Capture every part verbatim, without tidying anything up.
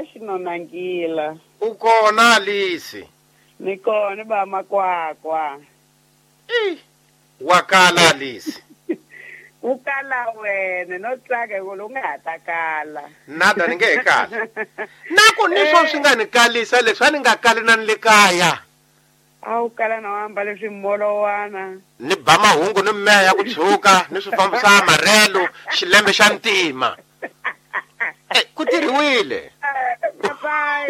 Xinonangila. U kona Alice? Ni kona ba Makwakwa. I wa kala Alice. U kala wena no tsaka ku lo nga ha ta kala. Nada ni nge he kala. Na ku ni swo swi nga ni kalisa leswi a ni nga kali na ni le kaya. A wu kala na wamba leswi molowana. Ni ba mahungu ni meya ya ku tshuka ni swi fambisa marelo xilembe xa ntima. Eh, ku tirhiwile. Papai,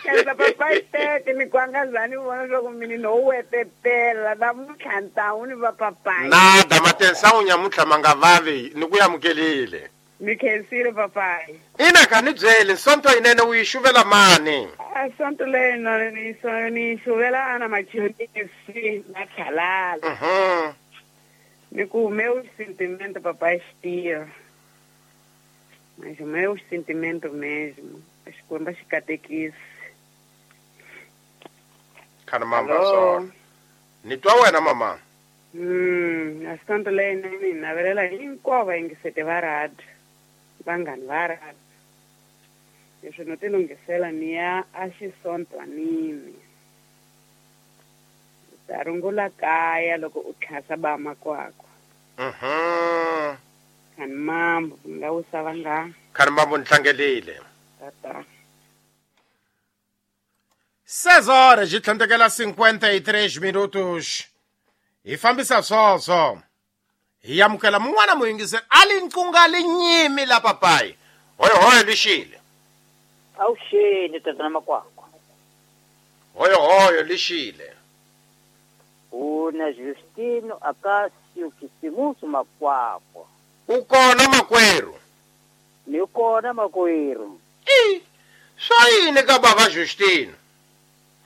khensa papai teke ni kwangazani vona swa ku mini no wetetela namuntlha ntawu ni va papai. Nada matensa u nyamuntlha ma nga vavi ni ku amukelile. Ni khensile papai. Ina ka ni byeli sonto yinene u yi xuvela mani? A sonto leyi ni so ni xuvela ana machonisi na khalala. Mhm. Ni ku meu sentimento papai xitira. Mas o meu sentimento mesmo. Xikwembu xi katekisi. Khana mama so. Ni twa wena mama. Mm, a sonto leyi ni navelela hinkwavo vayingiseti va radio. Vanghani va radio. Leswi no ti lunghisela ni ya a xisontwanini. U ta rungula kaya loko u tlhasa ba Makwakwa. Mhm. Khani mambo nga wisa vanghana. Khani mambo ni tlangelile. Tata. Seis horas e tlhandlekela cinquenta e três minutos. Hi fambisa swoswo. Hi amukela mun'wana muyingiseri a li nqunga li nyimi la papai. Hoyo hoyo lixile. Awuxeni tatana Makwakwa. Hoyo hoyo lixile. Una Justino Acácio Kisimusu Makwakwa. U kona makwerhu? Ni kona makwerhu. I swa yini ka bava Justino?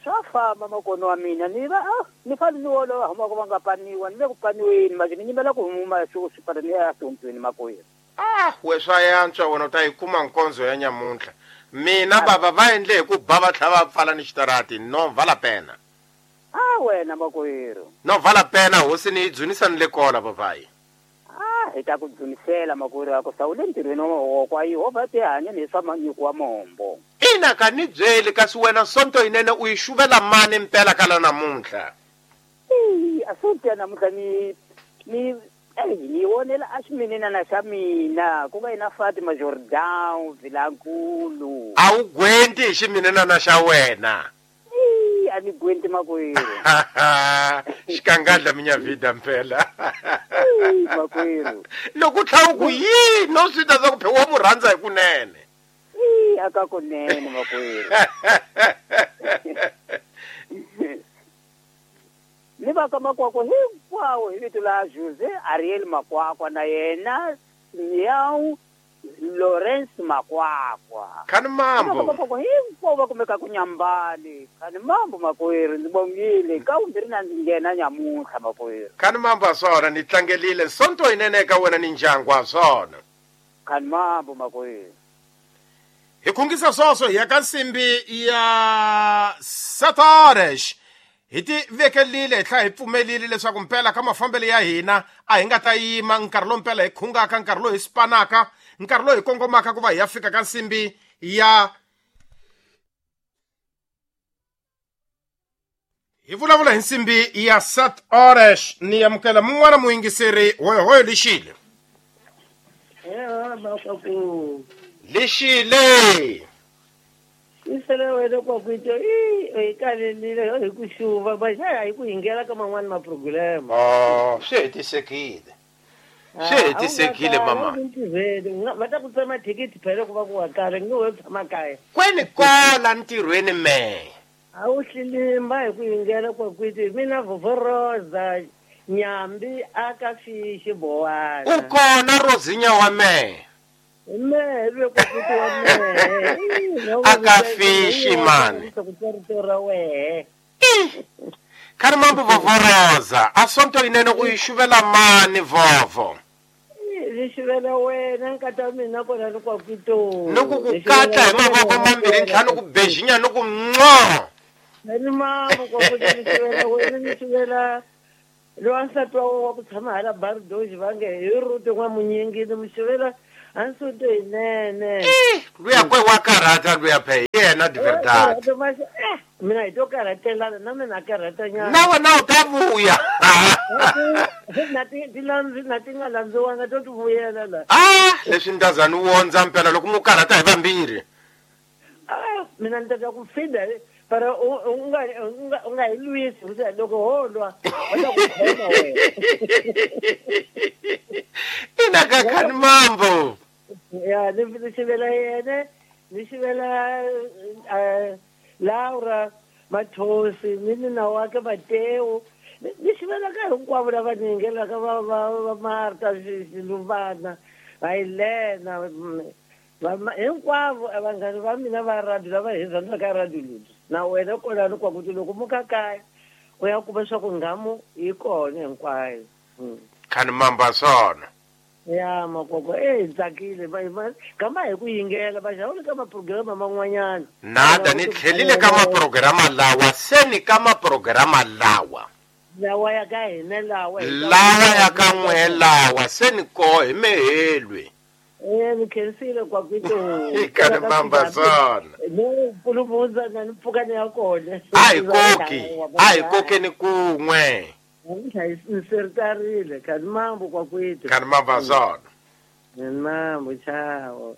Swa famba makono wa mina ni va ah, ni fane ni wolowa huma ku va nga paniwa ni le ku paniweni manje ni nyimela ku huma swi swi ni ya sontweni makwerhu. Ah, we swa yantswa wena u ta yi kuma nkonzo ya nyamuntlha. Mina bava va endle hi ku ba va tlhela va pfala ni xitarati no vala pena. Ah wena makwerhu. No vala pena hosi ni yi dzunisa ni le kola papai. Ah hi ta ku dzunisela makwerhu wa ku sawule ntirhweni wa mavoko a Yehovha ti hanya ni swa manyiko wa mombo. Ina ka ni byeli kasi wena sonto yinene u yi xuvela mani mpela kala namuntlha? Eyi, a sonto ya namuntlha ni ni eyi ni vonela a ximinenana xa mina ku nga yina Fatima Jordan Vilankulu. A wu gwenti hi ximinenana xa wena? Eyi, a ni gwenti makwerhu. Xikangadla minyavhida mpela. Eyi, makwerhu. Loko u tlha u ku yini no swi ta swa ku phe wa mu rhandza hi kunene. Eyi, aka kunene makwerhu. Ni va ka Makwakwa hinkwawo hi vito la Jose Ariel Makwakwa na yena Miau Lawrence Makwakwa. Khani mambo. Makwakwa hinkwavo va kumeka ku Nyambani. Khani mambo makwerhu ndzi bongile ka vumbirhi na ndzi nghena nyamuntlha makwerhu. Khani mambo a swona ni tlangelile sonto yinene eka wena ni ndyangu a swona. Khani mambo makwerhu. Hi khungisa swoswo hi ya ka nsimbi ya Sataresh. Hi ti vekelile hi tlhela hi pfumelile leswaku mpela ka mafambelo ya hina a hi nga ta yima nkarhi lowu mpela hi khungaka nkarhi lowu hi spanaka nkarhi lowu hi kongomaka ku va hi ya fika ka nsimbi ya hi vulavula hi nsimbi ya Sat Oresh. Ni amukela mun'wana muyingiseri hoyohoyo lixile. Lixile. Isele wena kwakwito i i kalelile hi ku xuva va xa hi ku hingela ka man'wana ma program. Oh, swi hetisekile. Swi hetisekile mama. Va ta ku tsema thikithi phela ku va ku wa kala nge we tshama kaya. Kweni kola ntirhweni me. A wu hlilimba hi ku hingela kwakwito mina Vovoroza Nyambi aka fishi bowana. U kona Rozinya wa me. Me lwe kwakwito wa me. Aka fishi mani. Khani mambo Vovoroza a sonto yinene u yi xuvela mani vovo? Ni xuvela wena nkata wa mina kona ni kwakwito. Ni ku ku katla hi mavoko mambirhi ntlhanu ku bejinya ni ku nqo. Ni mambo kwakwito ni xuvela wena ni xuvela lowa nsati wa wa ku tshama hala Bardoji va nge hi Ruti n'wamunyingi ni mu xuvela Assunto yinene. Luya kwe wa karhata luya phe yena de verdade. Mina hi to karhatelana na mina karhatanyana. Na wena u ta vuya. Na ti ti landzi na ti nga landziwanga to ti vuyela la. Ah, leswi ndazani wondza mpela loko mu karhata hi vambirhi. Ah, mina ni ta ku fida para u nga u nga hi lwisi loko ho lwa va ta ku khoma wena. Ina ka khani mambo. Ya ni ni xivela yena ni xivela Laura Mathosi ni nina wakhe Mateo ni xivela ka hinkwavo lava ni yingelaka va va va Marta Xiluvana va Helena hinkwavo vanghani va mina va radio lava hi rhandzaka radio leyi na wena kolani kwa kuti loko muka kaya u ya kuma swa ku nghamu yi kona hinkwayo. Khani mamba swona. Ya makoko eh tsakile kama hi ku yingela va xawule ka maprograma man'wanyana. Nada ni tlhelile ka maprograma lawa se ni ka maprograma lawa lawa ya ka hina lawa lawa ya ka n'we lawa se ni ko hi mehelwe. Eh ni khensile kwa kwito khani mamba swona. No puluvundza na ni pfuka ni ya kona. A hi koki a hi kokeni kun'we. Ni sertarile khani mambo kwa kwito. Khani mamba swona. Mambo chao.